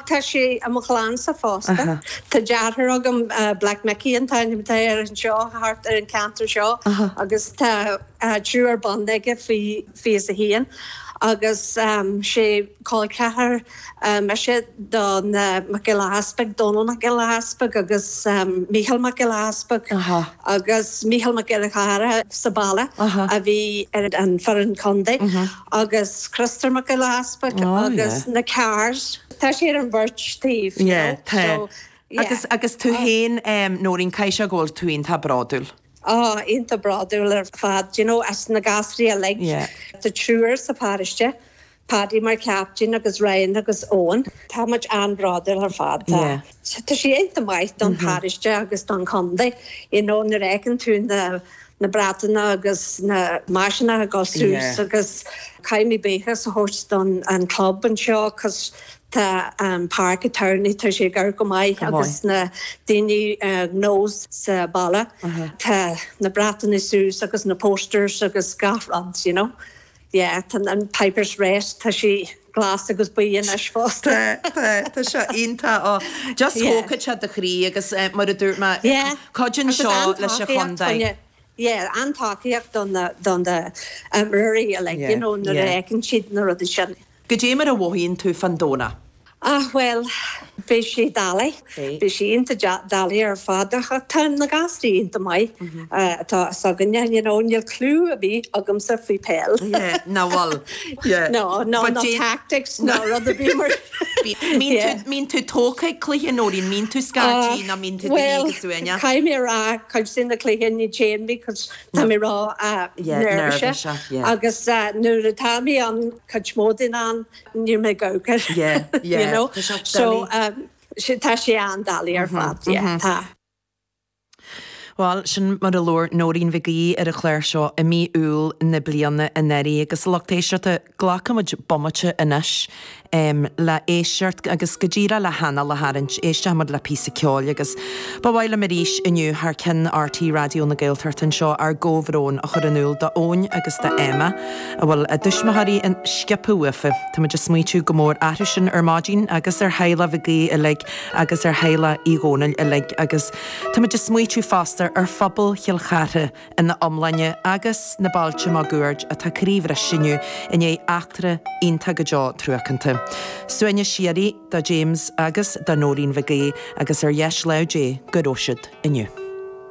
tá sé i mo chlannsa fosta. Tá deartháir agam, Black Mickey an t-ainm atá air anseo, thart ar an cheantar seo agus tá triúr ban aige faoi 21 agus sé col ceathar mise do na Mac Giolla Easpaig, Dónal Mac Giolla Easpaig agus Mícheál Mac Giolla Easpaig agus Mícheál Mac Giolla Chearra sa baile a bhí ar an foireann contae agus Criostóir Mac Giolla Easpaig agus na Carrs. Tá sé ar an bheirt taobh, you know, so yeah. Agus, agus tú féin, Nóirín, caithfidh sé go bhfuil tú iontach bródúil. Á, iontach bródúil ar fad, you know, as na gasraí uilig. Tá triúr sa pharóiste, Paddy mar captain agus Ryan agus Owen. Tá muid an-bhródúil ar fad. Tá. Tá sé iontach maith don pharóiste agus don chontae, you know, nuair a fheiceann tú na na bratanna agus na maiseanna ag dul suas agus caithfidh mé buíochas a thabhairt don an club anseo 'cause tá an Páirc an Tamhnaigh, tá sé ag amharc go maith agus na daoine gnó sa baile, tá na bratanna suas agus na posters agus gach rud, you know. Yeah, tá an Pipers Rest, tá sé glas agus buí anois fosta. Tá, tá, tá sé iontach. Ó, just thógfadh sé do chroí agus mar a dúirt mé, cuidíonn seo leis an chontae. Yeah, an-tacaíocht do na, do na imreoirí uilig, you know, nuair a fheiceann siad na rudaí sin. Goidé mar a mhothaíonn tú fán Domhnach? Ah, bhuel, beidh sé doiligh. Beidh sé iontach doiligh ar fad ach tá na gasraí iontach maith atá s'againne, you know, níl clue ar bith agamsa faoi peil. Yeah, ná bhfuil. Yeah. No, no, ná tactics ná rud ar bith mar. Mbíonn tú tógtha ag cluiche, Nóirín, mbíonn tú scaití nó mbíonn tú do shuí go suaimhneach? Caithfidh mé a rá, cuid de na cluichí ní théann mé 'cause tá mé ró neirbhíseach agus nuair atá mé an cuid mó den am, Níl mé ag amharc air. Yeah, yeah. You know? So, tá sé an-doiligh ar fad, yeah, tá. Bhuel, sin mar a labhair Nóirín Mhig Aoidh ar an chlár seo i mí Iúil na bliana anuraidh agus a lucht éisteachta, glacfaimid bomaite anois le éisteacht agus go díreach le hanáil a tharraingt, éistfimid le píosa ceoil agus ba mhaith liom arís inniu thar ceann RTÉ Raidió na Gaeltachta anseo ár gcomhbhrón a chur in iúl d'Eoin agus d'Emma. a bhfuil a dtuismitheoirí sciobtha uafa. Táimid ag smaoitiú go mór orthu sin ar maidin agus ar theaghlach Mhig Aoidh uilig agus ar theaghlach Uí Dhónaill uilig agus táimid ag smaoitiú fosta ar phobal Chill Chartha ina iomláine agus na bailte máguaird atá croíbhriste inniu i ndiaidh eachtra iontach go deo truacánta. Suaimhneas síoraí do James agus do Nóirín Mhig Aoidh agus ar dheis lámh Dé go raibh siad inniu.